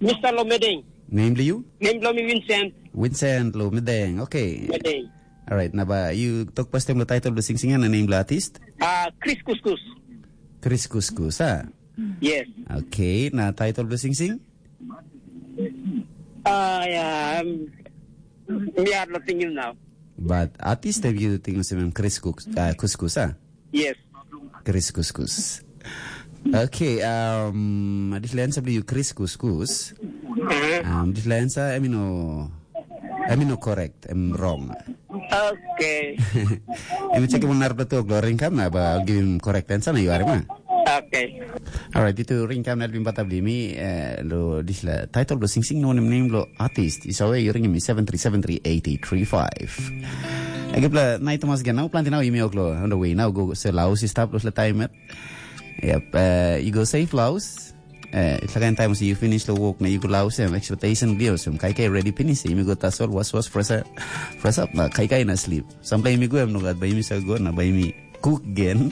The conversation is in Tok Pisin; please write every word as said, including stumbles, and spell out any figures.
Mister Lomedeng. Nem bilong you? Nem bilong mi Vincent. Vincent Lomedeng. Okay. Medeng. Alright, na ba you talk first time lo title lo sing sing na name lo artist? Ah, Chris Kuskus. Chris Kuskus, ha? Yes. Okay, na title lo sing sing? Ah, yeah, um, me are not thinking now. But artist have you think of him Chris Kus, uh, Kuskus, ha? Yes. Chris Kuskus. Okay, um, dispela answer bilong you Chris Kuskus. Um, dispela answer, I mean, no, I mean, no correct, I'm wrong. Okay. Em check mo narapla tok lo ringkam na ba I'll give him correct answer na you are ma. Okay. Alright, itu ringkam na bin bata bli mi eh, lo disla title lo sing sing no nem name lo artist. Is away you ring me seven three seven three eight eight three five. Agi pla nai Thomas gan now planti now imi oklo on the way now go se laus is tap lo sila time et. Yep, uh, you go safe laus. Eh, it's like time you finish lo work na you go laus em expectation lios em kai kai ready finish imi go tasol was was fresh up. Fresh up na kai kai na sleep. Sample imi go em no gat ba imi sa go na ba imi cook again.